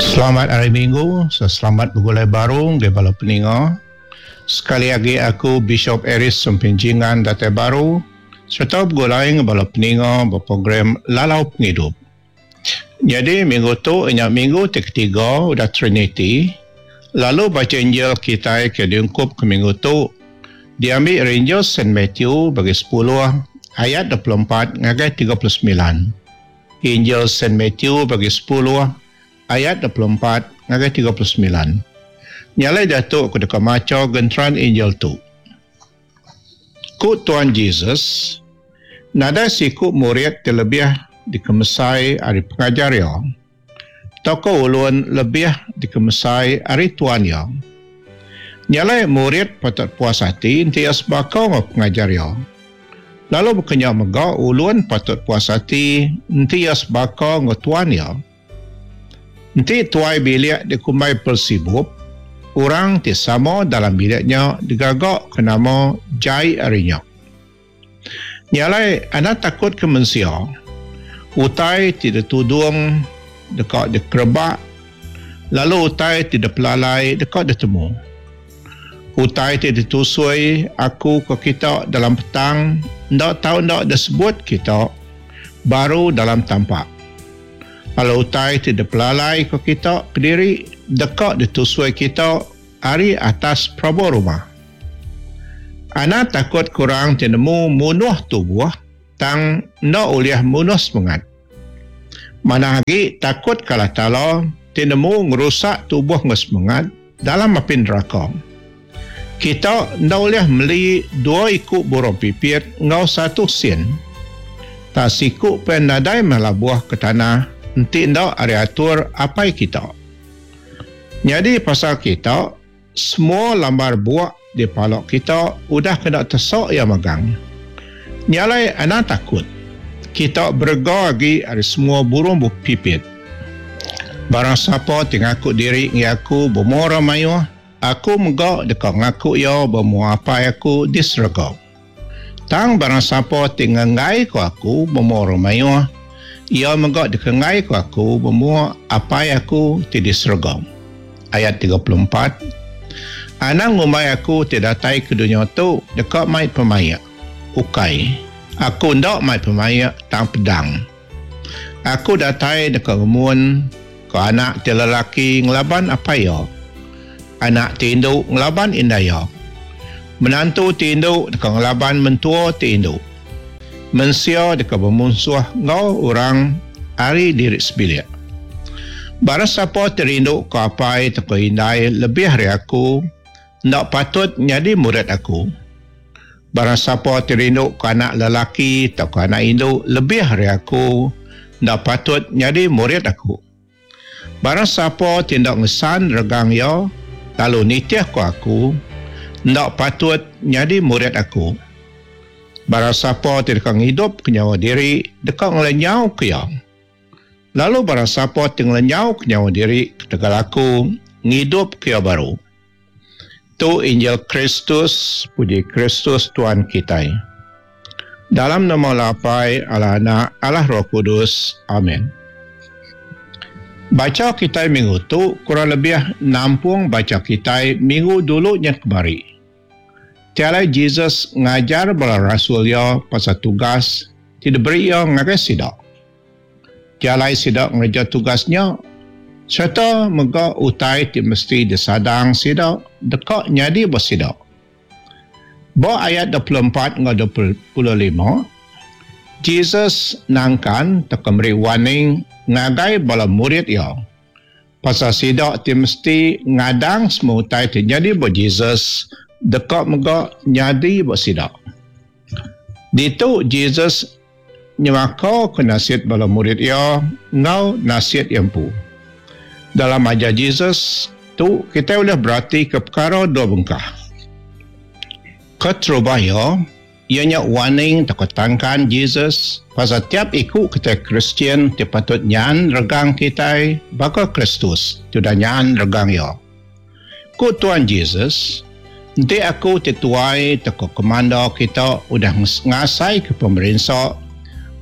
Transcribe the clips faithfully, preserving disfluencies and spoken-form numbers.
Selamat Hari Minggu, selamat begulai baru ngagai bala peninga. Sekali agi aku Bishop Aeries Sumping Jingan datai baru sereta begulai enggau bala peninga ba program Lalau Pengidup. Nyadi minggu tu inya minggu ti ketiga udah Trinity, lalu bacha Injil kitai ke diungkup ke minggu tu diambi ari Injil Saint Matthew bagi sepuluh ayat dua puluh empat ngagai tiga puluh semilan. Injil Saint Matthew bagi sepuluh ayat dua puluh empat ngagai tiga puluh semilan. Nya alai diatu aku deka macha genteran Injil tu. Ku Tuan Jesus, nadai siku murid ti lebih dikemesai ari pengajar iya, tauka ulun lebih dikemesai ari tuan iya. Nya alai murid patut puas ati enti iya sebaka enggau pengajar iya. Lalu baka nya mega ulun patut puas ati enti iya sebaka enggau tuan iya. Enti tuai bilik dikumbai Beelzebub, orang ti sama dalam bilik nya digaga ke nama jai ari nya. Nya alai anang takut ke mensia. Utai ti ditudung deka dikerebak, lalu utai ti dipelalai deka ditemu. Utai ti ditusui aku ke kita dalam petang enda tau enda disebut kita baru dalam tampak. Lalu utai ti dipelalai ke kita kediri deka ditusui kita ari atas perabung rumah. Anang takut ke orang ti nemu munuh tubuh tang enda ulih munuh semengat. Manah agi takut ke Allah Taala ti nemu ngerusak tubuh enggau semengat dalam api neraka. Kita enda ulih meli dua iku burung pipit enggau satu sen. Tak siku pen nadai meh labuh ke tanah enti enda ari atur apai kita. Nyadi pasal kita, semua lambar buak di pala kita udah kena tesok iya magang. Nya alai anang takut. Kita berega agi ari semua burung pipit. Barang sapa ti ngaku diri ngi aku ba mua orang mayuh, aku mega deka ngaku iya ba mua Apai aku di serega. Tang barang sapa ti ngenggai ko aku ba mua orang mayuh, iya mega dikenggai ko aku ba mua Apai aku ti di serega. Ayat tiga puluh empat. Anang ngumbai aku ti datai ke dunya tu deka mai pemaik. Ukai. Aku enda mai pemaik tang pedang. Aku datai deka ngemun ke anak ti lelaki ngelaban apai iya, anak ti indu ngelaban indai iya, menantu ti indu deka ngelaban mentua ti indu. Mensia deka bemunsuh enggau orang ari diri sebilik. Barang sapa ti rindu ke apai tauka indai lebih ari aku, enda patut nyadi murid aku. Barang sapa ti rindu ke anak lelaki tauka anak indu lebih ari aku, enda patut nyadi murid aku. Barang sapa ti enda ngesan regang iya lalu nitih ke aku, enda patut nyadi murid aku. Barang sapa ti deka ngidup ke nyawa diri, deka ngelenyau ke iya. Lalu barang sapa ti ngelenyau ke nyawa diri ketegal aku, ngidup ke iya baru. Tu Injil Kristus, puji Kristus Tuhan kitai. Dalam nama Allah Apai, Allah Anak, Allah Roh Kudus. Amin. Bacha kitai minggu tu kurang lebih nampung bacha kitai minggu dulu nya kemari. Ti alai Jesus ngajar bala rasul iya pasal tugas ti diberi iya ngagai sida. Ti alai sida ngereja tugas nya sereta mega utai ti mesti disadang sida deka nyadi ba sida. Ba ayat dua puluh empat enggau dua puluh lima, Jesus nangkan tauka meri warning ngagai bala murid iya pasal sida ti mesti ngadang semua utai ti nyadi ba Jesus deka mega nyadi ba sida. Ditu Jesus nyemaka ke nasit bala murid iya enggau nasit iya empu. Dalam ajar Jesus tu kitai ulih beratika perkara dua bengkah. Keterubah iya, iya nya warning tauka tangkan Jesus pasal tiap iku kitai Kristian ti patut nyan regang kitai baka Kristus ti udah nyan regang iya. Ku Tuan Jesus, enti aku ti tuai tauka komanda kita udah ngasai ke pemerinsa,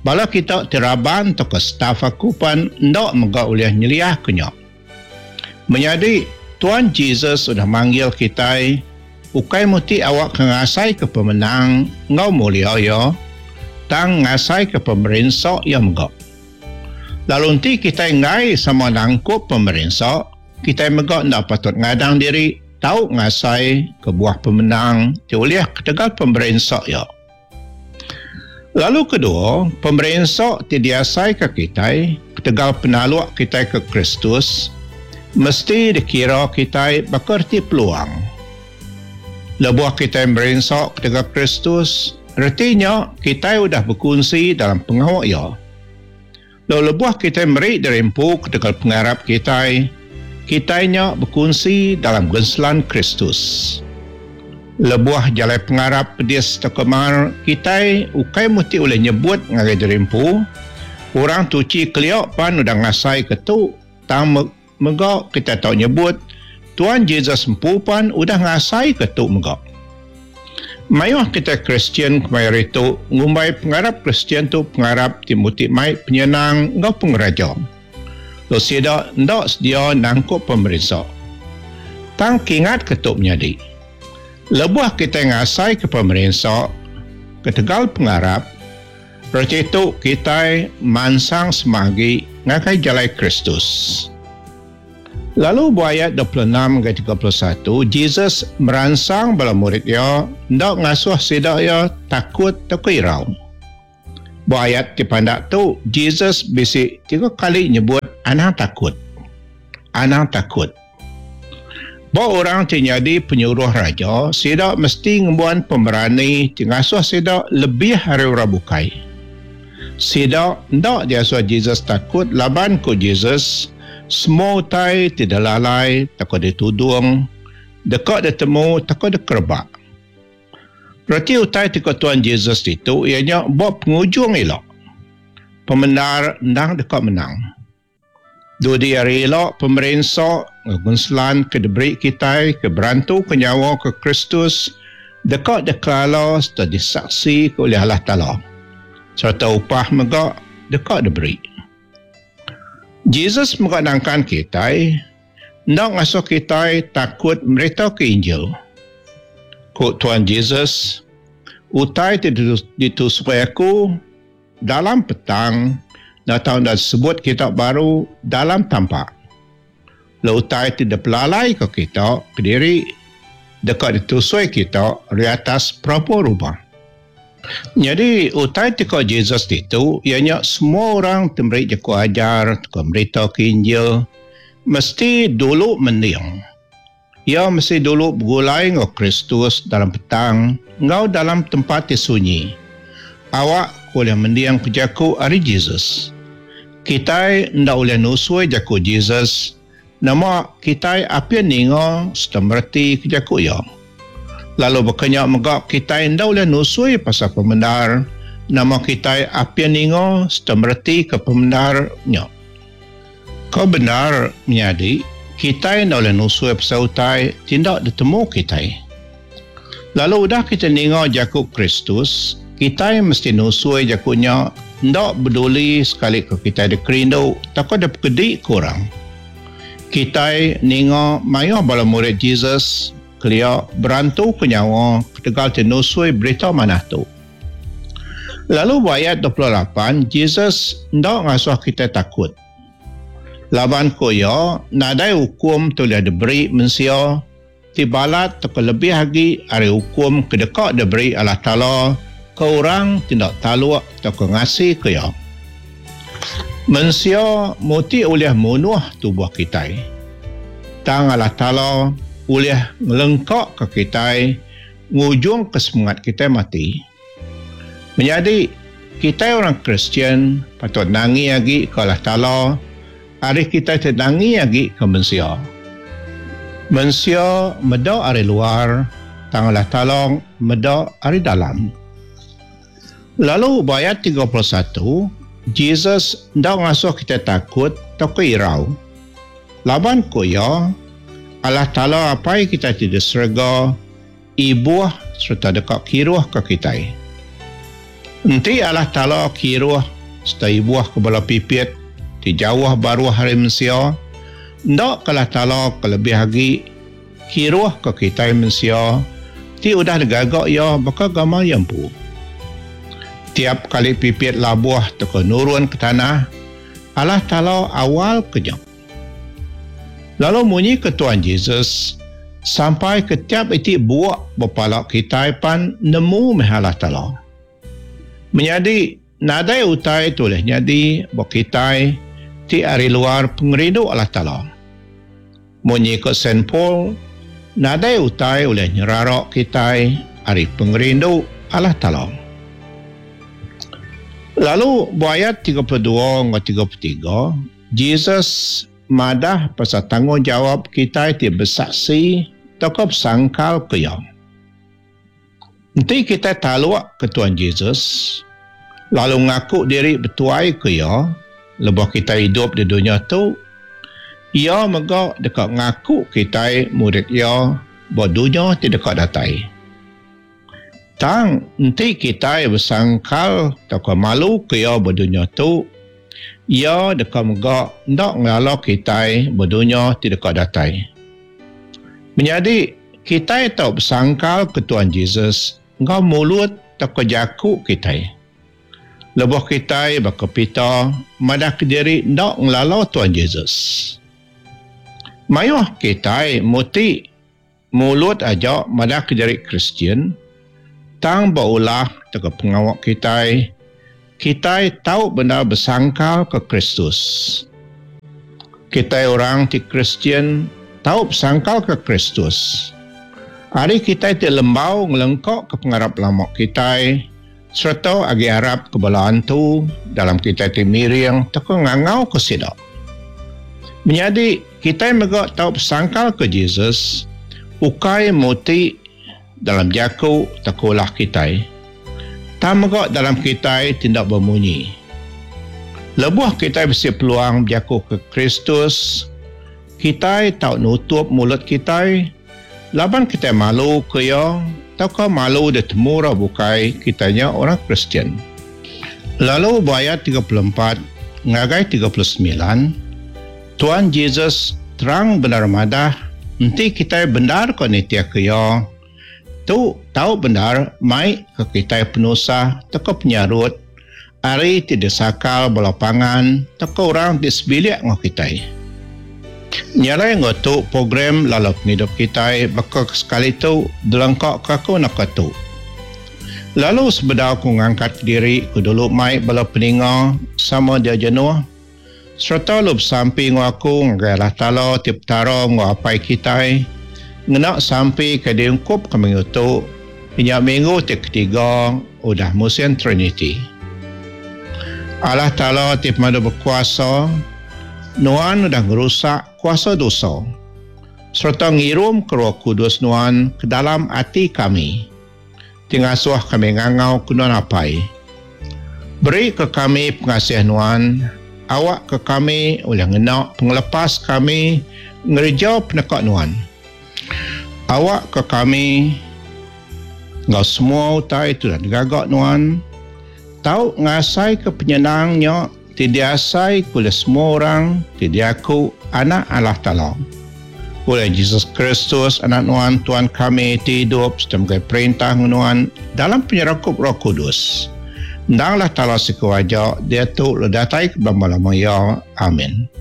bala kita ti raban tauka staf aku pan enda mega ulih nyeliah ke nya. Menyadi, Tuan Jesus udah manggil kitai ukai muti awak ke ngasai ke pemenang enggau mulia iya, tang ngasai ke pemerinsa iya mega. Lalu enti kitai enggai sama nangkup pemerinsa, kitai mega enda patut ngadang diri tau ngasai ke buah pemenang ti ulih ketegal pemerinsa iya. Lalu kedua, pemerinsa ti diasai ke kitai ketegal penaluk kitai ke Kristus mesti dikira kitai baka reti peluang. Lebuh kitai merinsa ketegal Kristus, retinya kitai udah bekunsi dalam pengawa iya. Lalu lebuh kitai meri diri empu ketegal pengarap kitai, kitai nya bekunsi dalam genselan Kristus. Lebuh jalai pengarap pedis tekemar, kitai ukai muti oleh nyebut ngagai diri empu, orang tuci kelia pan udah ngasai ke tu, tang mega kita tau nyebut Tuan Jesus empu pan udah ngasai ke tu mega. Mayuh kita Kristian kemaya itu ngumbai pengarap Kristian tu pengarap ti muti mai penyenang enggau pengeraja. Lalu sida ndak sedia nangkup pemerinsa. Tang kingat ke tu menyadi. Lebuh kita ngasai ke pemerinsa ketegal pengarap, reti tu kita mansang semagi ngagai jalai Kristus. Lalu bu ayat dua puluh enam hingga tiga puluh satu, Jesus meransang bala murid ia ndak ngasuh sida ia takut atau irau. Bu ayat ti pandak tu, Jesus bisi tiga kali nyebut anang takut. Anang takut. Ba orang ti nyadi penyuruh raja, sida mesti ngembuan pemerani ti ngasuh sida lebih ari orang bukai. Sida ndak diasuh Jesus takut laban ku Jesus, semua utai ti dalalai takut ditudung, deka ditemu takut dikerebak. Reti utai ti ku Tuan Jesus itu ianya ba pengujung ila. Pemendar endang deka menang. Dudi hari ila pemerinsa ngunselan ke diberi kitai ke berantu ke nyawa ke Kristus deka dikelala serta disaksi ke oleh Allah Taala. Serta upah mega deka diberi. Jesus mega nangkan kitai ndak ngasuh kitai takut merita ke Injil. Ku Tuan Jesus, utai ti ditusui aku dalam petang datang dan sebut kita baru dalam tampak. Lalu utai ti dipelalai ke kita kediri dekat ditusui kita di atas perapu rumah. Jadi utai ti ko Jesus itu ianya semua orang ti meri jaku ajar, ti merita ke Injil mesti dulu mending. Ia mesti dulu bergulai enggau Kristus dalam petang enggau dalam tempat ti sunyi. Awak boleh mendiang ke jaku ari Jesus. Kitai ndak boleh nusui jaku Jesus, nama kitai apin ninga serta mereti ke jaku ia. Lalu berkenyak mega kitai ndak boleh nusui pasal pemendar, nama kitai apin ninga serta mereti ke pemendarnya. Kau benar menyadi, kitai ndak boleh nusui pasal utai tindak ditemu kitai. Lalu udah kita ninga jaku Kristus, kitai mesti nusui jakunya ndak peduli sekali ke kitai dikerindu takut ada pekedik kurang. Kitai ninga mayuh bala murid Jesus kelia berantu ke nyawa ketegal ti nusui berita manah tu. Lalu ayat dua puluh lapan, Jesus ndak ngasuh kita takut. Laban ko iya nadai hukum tu boleh diberi mensia ti balat atau lebih lagi ari hukum ke deka diberi Allah Taala ke orang tidak taluk atau ke ngasi ke ia. Mensia muti oleh munuh tubuh kitai. Tang Allah Taala oleh ngelengkak ke kitai ngujung ke semangat kitai mati. Menjadi kitai orang Kristian patut nangi lagi ke Allah Taala hari kitai tenangi lagi ke mensia. Mensia meda ari luar, tang Allah Taala meda ari dalam. Lalu ayat tiga puluh satu, Jesus ndak ngasuh kita takut atau irau. Laban ku iya, Allah Taala apai kita ti di serega, ibuh serta dekat kiruh ke kitai. Enti Allah Taala kiruh serta ibuh ke bala pipit ti jauh baruh hari mensia, Enda ke Allah Taala ke lebih agi kiruh ke kitai mensia ti udah digaga Iya baka gamal Iya empu. Tiap kali pipit labuh tauka nurun ke tanah, Allah Taala awal ke nya. Lalu munyi ke Tuan Jesus, sampai ke tiap iti buok ba pala kitai pan nemu meh Allah Taala. Menyadi, nadai utai tu ulih nyadi ba kitai ti ari luar pengerindu Allah Taala. Munyi ko Saint Paul, nadai utai ulih nyerara kitai ari pengerindu Allah Taala. Lalu ba ayat tiga puluh dua enggau tiga puluh tiga, Jesus madah pasal tanggungjawab kitai ti besaksi tauka besangkal ke Iya. Enti kitai taluk ke Tuan Jesus, lalu ngaku diri betuai ke Iya lebuh kitai idup di dunya tu, Iya mega deka ngaku kitai murid Iya ba dunya ti deka datai. Tang enti kitai besangkal tauka malu ke Iya ba dunya tu, Iya deka mega enda ngelala kitai ba dunya ti deka datai. Menyadi, kitai tau besangkal ke Tuan Jesus enggau mulut tauka jaku kitai. Lebuh kitai baka Peter madah kediri enda ngelala Tuan Jesus. Mayuh kitai muti mulut aja madah kediri Kristian, tang ba ulah tauka pengawa kitai, kitai tau bendar besangkal ke Kristus. Kitai orang ti Kristian tau besangkal ke Kristus. Ari kitai ti lembau ngelengka ke pengarap lama kitai, sereta agi arap ke bala antu dalam kitai ti miring tauka ngangau ke sida. Menyadi, kitai mega tau besangkal ke Jesus, ukai muti dalam jaku tauka ulah kitai, tang mega dalam kitai ti enda bemunyi. Lebuh kitai bisi peluang bejaku ke Kristus, kitai tau nutup mulut kitai laban kitai malu ke Iya tauka malu ditemu orang bukai kitai nya orang Kristian. Lalu ba ayat tiga puluh empat ngagai tiga puluh semilan, Tuan Jesus terang bendar madah enti kitai bendar ko nitih ke Iya, tu tau bendar mai ke kitai penusah tauka penyarut ari ti disakal bala pangan tauka orang ti sebilik enggau kitai. Nyalai enggau tu program lalu pengidup kitai baka ke sekali tu dilengka ke aku naka tu. Lalu sebedau aku ngangkat diri ku dulu mai bala peninga sama dia jenuh sereta lu besampi enggau aku ngagai Allah Taala ti Petara enggau Apai kitai ngena sampi ke diungkup ke minggu tu nya minggu ti ketiga udah musim Trinity. Allah Taala ti pemadu berkuasa, Nuan udah ngerusak kuasa dosa sereta ngirum ke Roh Kudus Nuan ke dalam ati kami ti ngasuh kami ngangau ke Nuan Apai. Beri ke kami pengasih Nuan, awak ke kami ulih ngena pengelepas kami ngereja peneka Nuan. Awak ke kami enggau semua utai tu dah digaga Nuan, tau ngasai ke penyenangnya ti diasai oleh semua orang ti diaku anak Allah Taala. Oleh Jesus Kristus anak Nuan Tuhan kami ti hidup serta megai perintah Nuan dalam penyerakup Roh Kudus. Endang Allah Taala siku aja dia tu le datai ke belama-lama ya. Amin.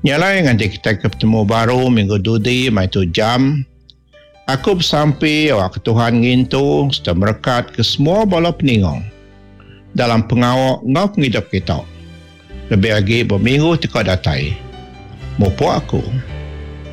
Nyalai nganti kita ke bertemu baru minggu dudi mai tu jam. Aku bersampi awak ke Tuhan ngintu serta merekat ke semua bala peninga dalam pengawak enggau pengidup kita. Lebih lagi berminggu teka datai. Mupuk aku.